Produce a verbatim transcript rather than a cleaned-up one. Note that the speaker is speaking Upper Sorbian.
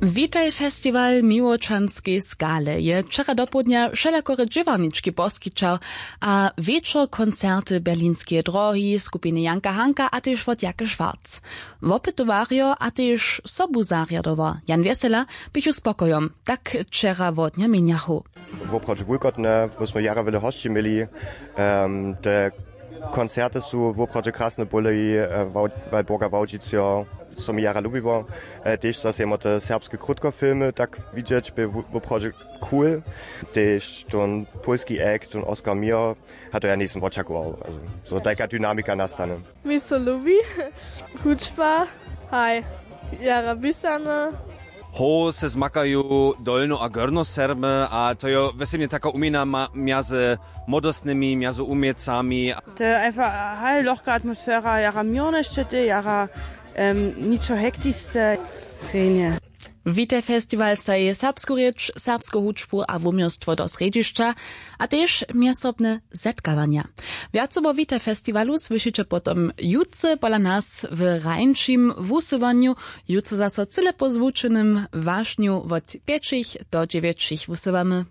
Witaj festiwal miłočanskej skale je wčera dopołdnja wšelakore dźěłarnički poskićał a wječor koncerty Berlinskeje drohi, skupiny Janka Hanka a tež wot Jake Schwarz. Wopytowarjo a tež sobuzarjadowa Jan Wjesela běchu spokojom, tak wčera wot nja měnjachu. Woprawdźe wulkotne, bo smy jara wjele hosći měli. Te koncerty su woprawdźe krasne bóle i Walborga Wałdźico, so mi jara lubiło. Tež zaso jemo te serbske krótkofilmy tak widźeć, bě woprawdźe cool. Tež ten pólski act ten Oscar Mir, a to ja njejsym wočakował, zo tajka dynamika nastane. Mi so lubi hudźba, haj, jara pisane. Ho se zmakajo dolno a gorno serby a to jo wjesebnje taka umjena mjazy młodostnymi mjazy umjecami. To je einfach haj lochka atmosfera, jara měrnešće tej jara ničo hektisce. Fenje. Witaj festiwal staji serbsku rěč, serbsku hudźbu a wuměłstwo do srjedźišća a tež mjezsobne zetkawanja. Wjace wo witaj festiwalu słyšiće potom jutře pola nas w rańšim wusyłanju. Jutře zaso cyle po zwučenym wašnju wot pjećich do dźewjećich wusyłamy.